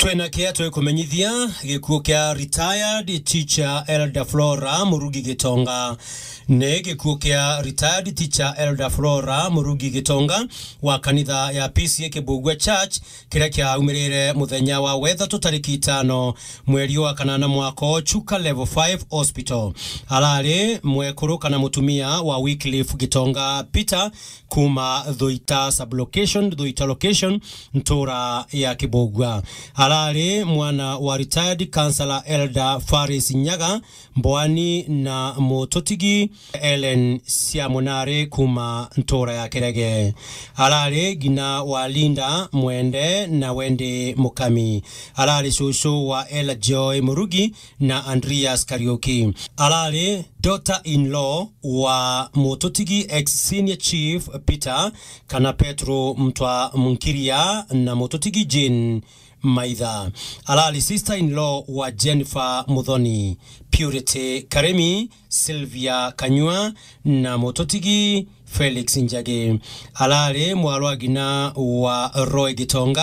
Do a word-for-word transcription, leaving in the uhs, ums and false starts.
Twina kia twikumenyithia gikuo kia retired teacher Elder Flora Murugi Gitonga. Ni gikuo kia retired teacher Elder Flora Murugi Gitonga wa kanitha ya P C A Kibugua Church, kiria kiaumirire muthenya wa wethatu tariki itano mweri wa kanana mwaka o Chuka Level five Hospital. Arari mwekuru kana mutumia wa Wycliffe Gitonga Peter, kuma Thuita sublocation, Thuita location, ntura ya Kibugua. Arari mwana wa retired councillor Elder Faris Nyaga Mbwani na mututigi Ellen Siamunari kuma ntura ya Kirege. Arari ngina wa Linda Mwende na Wendi Mukami. Arari cucu wa Ella Joy Murugi na Andreas Kariuki. Arari daughter-in-law wa mututigi ex senior chief Peter kana Petro Mtwa Munkiria na mututigi Jane Maitha. Arari sister-in-law wa Jennifer Muthoni, Purity Karemi, Sylvia Kanyua na mututigi Felix Njagi. Arari mwarwa ngina wa Roy Gitonga